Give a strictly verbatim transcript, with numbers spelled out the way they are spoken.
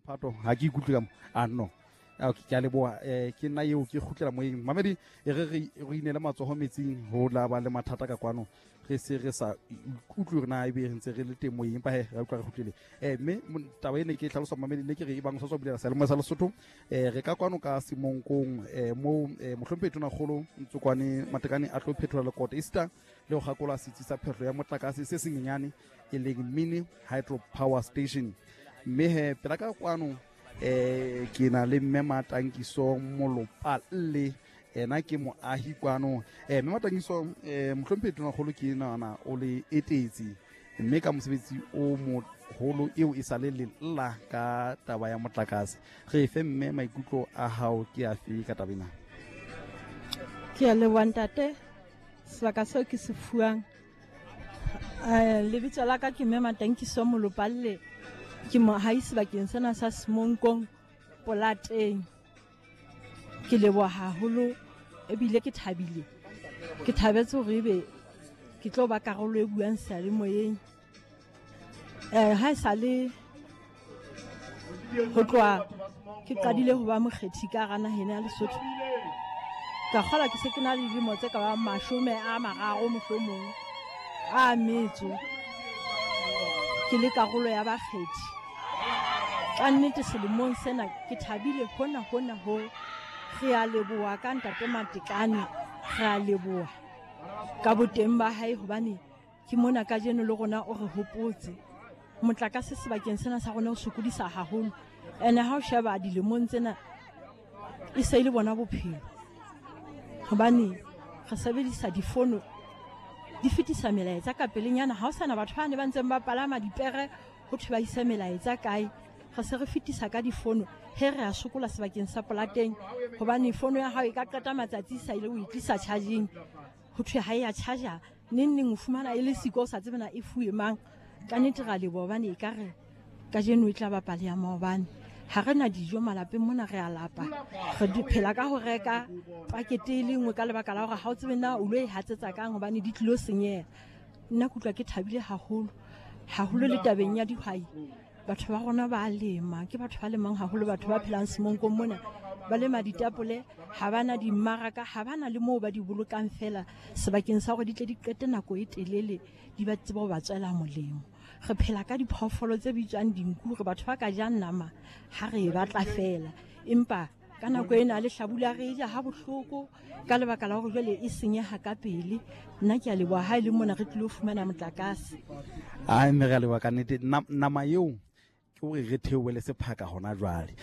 Phato ha ke ikutlwe ka mo a no. Okay, ke a leboha. Eh ke nna eo ke kgutlela moyeng. Mamedi e re re re inele matsoho metsing ho la ba le mathata ka kwano. Re se re sa utlwe hore na ebe re ntse re le teng moyeng, empa he re utlwa re kgutlile. Eh mme taba ene ke e hlalosa mamedi, ne ke re e bang o sa tswa bulela seyalemoya sa Lesotho, eh re ka kwano ka Semonkong, eh moo eh mohlomphehi Tonakgolo Ntsokoane Matekane a tlo phethola lekoto esita le ho kgakola setsi sa phehlo ya motlakase se senyenyane e leng mini hydro power station. Mme he pela ka kwano eh ke na le mme Matankiso Molopalle, ena ke moahi kwano. Eh mme Matankiso, eh mohlomphehi Tonakgolo ke nahana o le etetse mme ka mosebetsi o moholo eo e sa le lella ka taba ya motlakase. Re fe mme maikutlo a hao ke afe ka taba ena? Ke a leboha ntate, sebaka seo ke se fuwang. Eh, lebitso la ka ke mme Matankiso Molopalle, ke moahi sebakeng sena sa Semonkong Polateng. Ke leboha haholo ebile ke thabile. Ke thabetse hore ebe ke tlo ba karolo e buang seyalemoyeng. Eh, ha e sale ho tloha ke qadile ho ba mokgethi ka hara naha ena ya Lesotho, ka kgola ke se ke na le dilemo tse ka bang mashome a mararo mohlomong a metso, ke le karolo ya bakgethi. Ka nnete selemong sena ke thabile hona hona ho. Re a leboha ka ntate Matekane, re a leboha ka boteng ba hae, hobane ke mona kajeno le rona o re hopotse. Motlakase sebakeng sena sa rona o sokodisa haholo, ene ha o sheba dilemong tsena e se e le bona bophelo, hobane re sebedisa difono di fetisa melaetsa ka pelenyana. Ha ho sana batho ba ne ba ntseng ba palama dipere ho thwe ba ise melaetsa kae, re se re fetisa ka difono. He re a sokola sebakeng sa Polateng, hobane fono ya hao e ka qeta matsatsi e sa ile o e tlisa charging, ho thwe ha e ya charger neng neng o fumana e le siko, o sa tsebe na e fuwe mang. Ka nnete ra leboha, hobane ekare kajeno e tla ba pale ya maobane. Ha re na dijo malapeng mona, re a lapa, re phela ka ho reka pakete e le nngwe ka lebaka la hore ha o tsebe na o lo e hatsetsa kang, hobane di tlilo senyeha. Nna ke utlwa ke thabile haholo haholo le tabeng ya dihwai. Batho ba rona ba lema, ke batho ba lemang haholo, batho ba phelang Semonkong mona ba lema ditapole, ha ba na dimmaraka, ha ba na le moo ba di bolokang fela sebakeng sa hore di tle di qete nako e telele di ba tsebe ho ba tswela molemo. Re phela ka diphoofolo tse bitswang dinku, re batho ba ka jang nama ha re e batla fela, empa ka nako ena le hlabula re e ja ha bohloko ka lebaka la hore jwale e senyeha ka pele. Nna ke a leboha ha e le mona re tlilo fumana motlakase. Ai, mme re a leboha ka nnete. Nama eo ke hore re theohele sephaka hona jwale.